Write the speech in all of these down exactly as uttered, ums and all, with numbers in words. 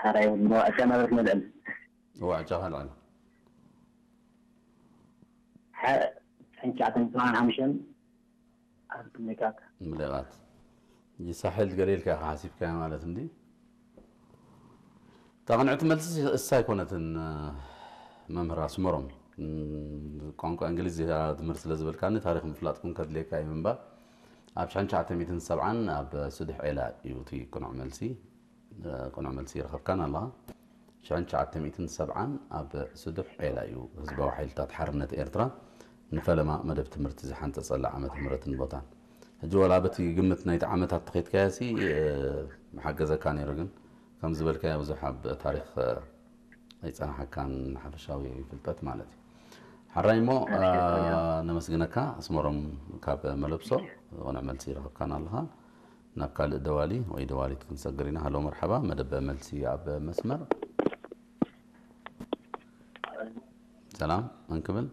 አራይ ወዕጨ ነበረት መልዕል። ወዕጨ ከልዕል። ሐ፣ ዕንቻዕተን ሰብዓን ሐምሸን አብ ምሌቃት። ምሌቃት። ይሳሕል ገሌልካ ኢኻ ሐሲብካዮ ማለት እንዲ። ታ ቅንዕቲ መልሲ እሳ ኣይኮነትን፣ መምህር ኣስመሮም። ቋንቋ እንግሊዝ እያ ትምህር ስለ ዝበልካኒ፣ ታሪኽ ምፍላጥኩም ከድሌካ እዩ እምበር፣ ኣብ ሽሕን ትሽዓተ ሚእትን ሰብዓን ኣብ ስዱሕ ዔላ እዩ እቲ ቅኑዕ መልሲ። ቅኑዕ መልሲ ረኸብካን ኣለኻ። ሽሕን ትሽዓተ ሚእትን ሰብዓን ኣብ ስዱሕ ዔላ እዩ ህዝባዊ ሓይልታት ሓርነት ኤርትራ ንፈለማ መደብ ትምህርቲ ዝሓንጸጸላ ዓመተ ምህረትን ቦታን። ሕጂ ወላ በቲ ግምት ናይቲ ዓመታት ተኸይድካዮሲ፣ እ፣ ምሓገዘካ ነይሩ፣ ግን ከም ዝበልካዮ ብዙሕ ኣብ ታሪኽ፣ እ፣ ኣይጸናሓካን ሓፈሻዊ ፍልጠት ማለት እዩ። ሓራይ እሞ፣ እ፣ ነመስግነካ። ኣስመሮም ካብ መለብሶ ቅኑዕ መልሲ ረኸብካን ኣለኻ። ናብ ካልእ ደዋሊ ወይ ደዋሊት ክንሰግር ኢና። ሃሎ መርሐባ፣ መደብ መልሲ ኣብ መስመር። ሰላም፣ መን ክብል?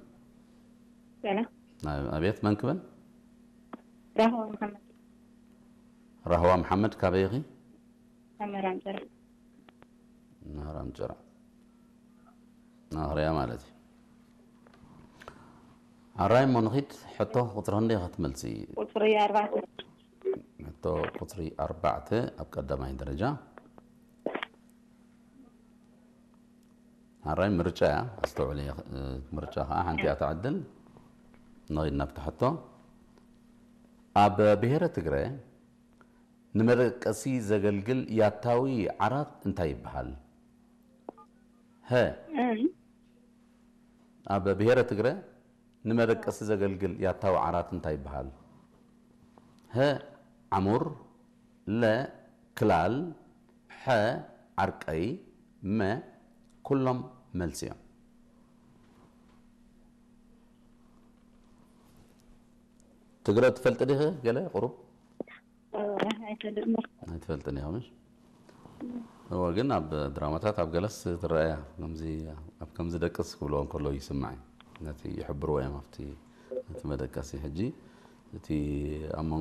ሰላም። ኣብ-፣ ኣቤት፣ መን ክብል? ራህዋ መሐመድ። ራህዋ መሐመድ፣ ካበይ ኢኺ? ካብ ምህራም ጭራ። ምህራም ጭራ። ናህርያ ማለት እዩ። ኣራይ እሞ ንኺድ፣ ሕቶ ቁጽሪ ክንደይ ኢኻ ትመልሲ? ቁጽሪ ኣርባዕተ። ሕቶ ቁጽሪ ኣርባዕተ ኣብ ቀዳማይ ደረጃ። ኣራይ ምርጫ እያ፣ ኣስተውዕል እየ፣ ምርጫ ኸኣ ሓንቲ እያ ትዓድል። ንኺድ ናብቲ ሕቶ። ኣብ ብሄረ ትግረ ንመደቀሲ ዘገልግል ያታዊ ዓራት እንታይ ይበሃል? ሀ። እም። ኣብ ብሄረ ትግረ ንመደቀሲ ዘገልግል ያታዊ ዓራት እንታይ ይበሃል? ሀ፣ ዓሙር፣ ለ፣ ክላል፣ ሐ፣ ዓርቀይ፣ መ፣ ኩሎም መልሲ እዮም። ትግረ ትፈልጥ ዲኺ ገለ ቁሩብ? እ፣ ኣይፈልጥን። ኣይትፈልጥን ኢኻ ምሽ? እወ፣ ግን ኣብ ድራማታት ኣብ ገለስ ትረአያ፣ ከምዚ፣ ኣብ ከምዚ ደቅስ ክብልዎ እንከሎ ይስማዕ። ነቲ ይሕብርዎ እዮም ኣብቲ፣ ነቲ መደቀሲ። ሕጂ እቲ ኣብ